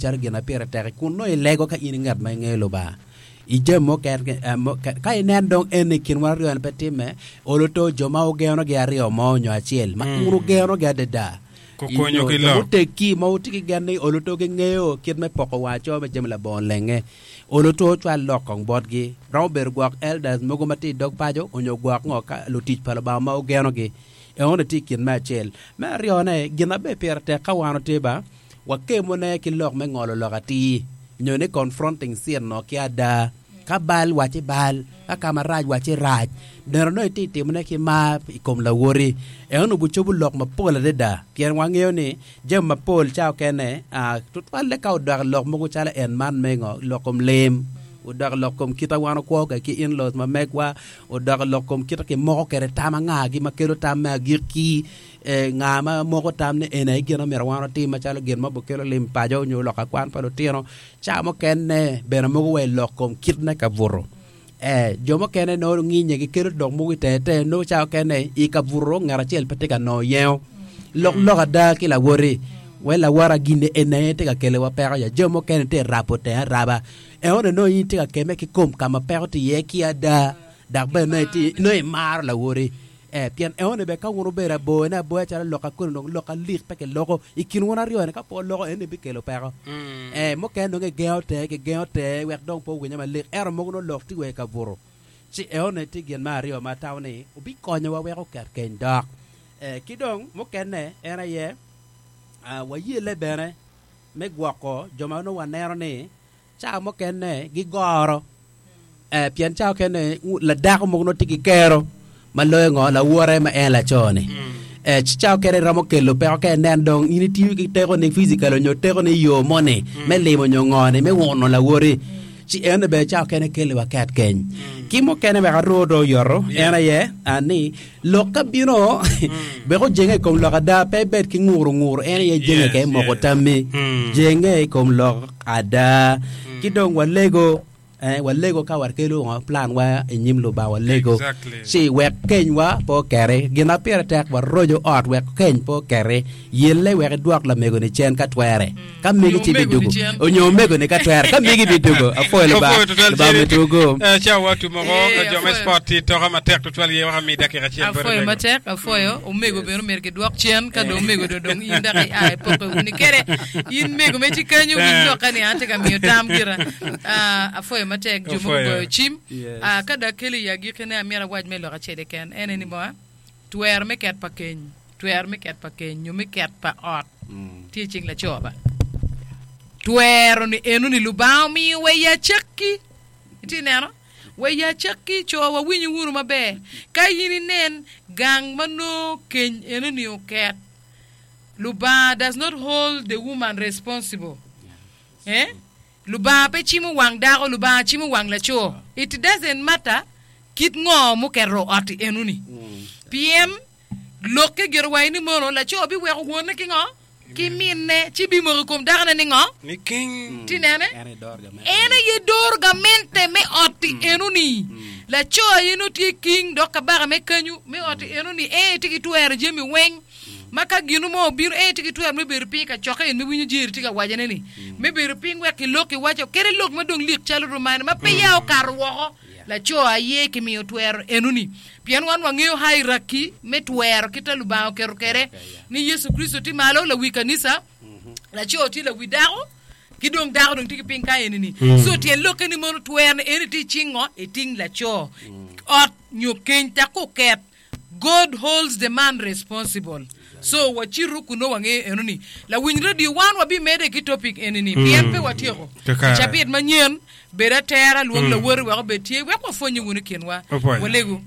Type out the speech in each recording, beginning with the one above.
calo gin ma pire tek kun nongo ilego ka in i ngat ma ingeyo Lubanga. I jami mukene, ka inen dong eni i kin wan aryoni pe timme, olo to jo ma wugenogi aryo mo nyo acel ma un wugenogi adada, Gukonyo nyo ki jo lok. muteggi ma wutye ki gen ni olo to gingeyo kit me poko wang aco me jami labongo lenge, olo to wucwal lok kong botgi. Romo bedo gwok elders mogo ma tye i dog paco onyo gwok ngo ka lutic pa Lubanga ma wugenogi. Enoni tye i kin me acel. Me aryone, gin ma bene pire tek ka wan watye ba, Wakemone ki lok me ngolo lok atir, nyo ni confronting sin-no ki ada. Ka bal, wacci bal, ka ka marac, wacci rac. Neno nongo itye ka timone ki mar i kom lawoti. Eno gucobo lok mapol adada, pien wangeyo ni jami mapol ca okene, tutwalle ka odok i lok mogo calo en man me ngo, lok kom lim, odok i lok kom kit ma wan wakwo kwede ki in-laws ma megwa, odok i lok kom kit ma kimoko kwede tam angagi ma kelo tam me agikki. Nga ma moko tam ni eni aye gin ma myero wan watim macalo gin ma bikelo lim paco nyo lok akwan pa lutino? Ca mukene bene mogo wa i lok kom kit me kabuto. Ee, jo mukene nongo nginye gikelo lok mogo i tenge tenge nongo ca mukene i kabuto ngat acel pe tye ka nongo yengo. Lok lok ada ki lawoti wai lawota gin eni aye tye ka keliwa peko ya jo mukene tye ka rabo tenge araba enoni nongo in itye ka kemme ki kom ka ma peko tye iye ki ada dok bene nongo imaro lawoti. Ee, pien enoni bene ka wun wubedo aboyone aboya calo lok akoni dong lok alik pe kiloko i kin wun aryoni, ka pe wuloko enoni bikelo peko. Ee, mukene dong gigengo tenge, gigengo tenge wek dong pe owinye malik, ento mogo nongo lok tye wa i kabuto. Ci enoni tye gin me aryo ma atamo ni obikonyowa wek oket keny dok. Ee, ki dong mukene en aye, wayelle bene me gwoko jo ma nongo waneno ni Cawa mukene gigoro eh, pien cawa mukene ladako mogo nongo tye ki kero ma loyo ngo lawote ma en laco-ni. Eh, ci cawa mukene romo kelo peko ka inen dong in itiyo ki tekoni physical nyo tekoni i yo moni me limo nyo ngo-ni me wuno lawoti. Ci eno bene cawa mukene keli wa ket keny. Ki mukene wek arwo dong oyoto en aye ah, ni Lok ka bino, wek ojenge i kom lok ada, pe ibed ki nguru nguru, en aye jenge ka imoko tammi. Jenge i kom lok ada. Ki dong walego, eh, walego ka wakelo ngo, plan wa i nyim Lubanga, walego. Exactly. Ci wek kenywa pe oketi. Gin ma pire tek, waroco ot wek keny pe oketi. Yelle wek idwok lamego-ni cen ka twere. Ka megi Onyo ci omego-ni bidugo. cen. Onyo omego-ni ka twere. Ka megi bidugo. Apwoyo Lubanga. Apwoyo tutwal Lubanga Jerry. omedwu gum. Eh, cawa wa otum oko, Eh, jo me apwoyo. sport tye toka matek tutwal ye wek ami dakika acel bot Apwoyo omego. matek, apwoyo. Omego bene omyero gidwok cen, ka dong omego dong dong in dok ia ipoke wuni kede. In mego me ci kenyo winy Eh. loka ni an atye ka miyo tam gira. Ah, apwoyo matek jo mogo Apwoyo. goyo cim. Yes. Ah, ka dong akelo i agikkine amyero awac me lok acel keken. En eni mo, twero me ket pa keny. Twero me ket pa keny nyo me ket pa ot tye i cing laco ba. Twero ni eno ni Lubanga omiyo wa i acakki. Itye neno? Wa i acakki co wawinyo wunu maber. Ka in inen gang ma nongo keny eno ni oket, Lubanga does not hold the woman responsible. Eh? Lubanga pe cimo wang dako, Lubanga cimo wang laco. It doesn't matter kit ngo muketo ot-ti eno ni. Pien Lokke gire wa ni mono laco biweko wonne ki ngo? Ki minne, ci bimoko i kom dakone ni ngo? Ni king. Ti nene? En aye doro gamente me ot-ti enoni. Laco aye nongo tye king dok kabaka me kanyu me ot-ti enoni. En aye tye ki twero jami weng. Ma ka gino mo obino, en aye tye ki twero me bedo piny i kacokke en me winyo jeri tye ka wacone ni, me bedo piny wek kilok kiwaco kede lok ma dong lik calo romane ma peya okato woko. Laco aye kimiyo twero enoni. Pien wan wangeyo hierarchy me twero kit ma Lubanga oketo kwede, ni Yecu Kricito tye malo, lawi kanisa, laco tye lawi dako, ki dong dako dong tye ki piny ka eni-ni. So tyen lokke ni mono twero ni eni tye i cing ngo? I ting laco. Ot nyo keny tak oket, God holds the man responsible. So wacitu kun nongo wangeyo eno-ni. Lawiny radio wan wabimedde ki topic eni-ni pien pe watyeko. I cabit manyen, Bed atera, lwong lawoti wek obed tye, wek wapwonnye wunu i kinwa. Walegu.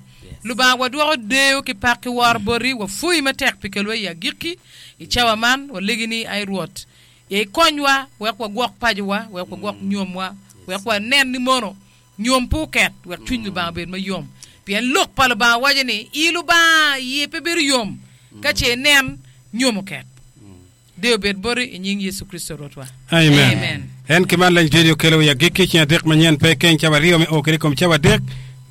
Lubanga, wadwoko deyo ki pak ki woro boti, wapwoyi matek pi kelwa i agikki i cawa man. Walegi ni, ai Rwot, ikonywa wek wagwok pacowa, wek wagwok nyomwa, wek wanen ni mono nyom pe oket, wek cwiny Lubanga obed mayom. Pien Lok pa Lubanga waco ni, I Lubanga iye pe bedo yom ka ce inen nyom oket. Deyo obed boti i nying Yecu Kricito Rwotwa. Amen. Amen. En ki man leng joni okelo i agikki ceng adek manyen pe keny cawa aryo me o kede i kom cawa adek.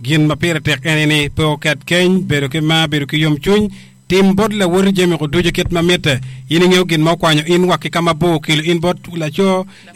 Gin ma pire tek en aye ni pe oket keny, bedo ki mar, bedo ki yomcwiny, tim bot lawoti jami-gu ducu kit ma mitte. In ingeyo gin ma okwanyo in wa ki ka mabor okelo in bot laco.